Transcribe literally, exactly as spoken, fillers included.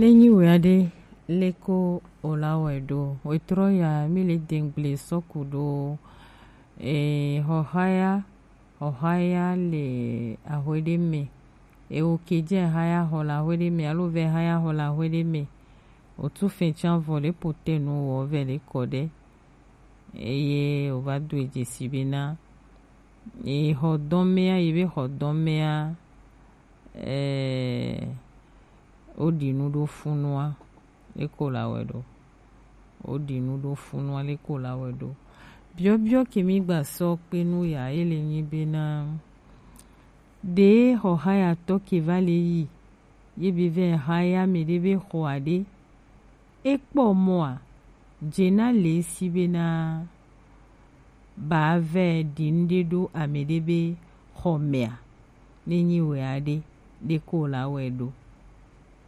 Ne nyi wea ɖe, leko o la wɛ ɖo? Wetrɔ ya mi le dengble sɔku ɖo. E, xɔxaya, xɔxaya le ahwe ɖe me. E, o ke dze xaya xɔ le ahwe ɖe me, alo vɛ xaya xɔ le ahwe ɖe me. O tu fɛn tsan vɔ le pote nu wɔ vɛ le kɔ ɖe. Eye o va do e dzesi be na. E, xɔ dɔn mea, yi be xɔ dɔn mea, e, o ɖi nu ɖo funua, leko la wɛ ɖo. O ɖi nu ɖo funua, leko la wɛ ɖo. Biɔbiɔ ke mi gba sɔ kpe nu ya, ele nyi be na. Ɖe xɔxayatɔ ke va le yi, ye be vɛ xaya mɛ ɖe be xɔ aɖe. E kpɔ mɔa, dze na le si be na ba vɛ ɖi nu ɖe ɖo ame ɖe be xɔ mɛa, ne nyi wɛ aɖe, leko la wɛ ɖo.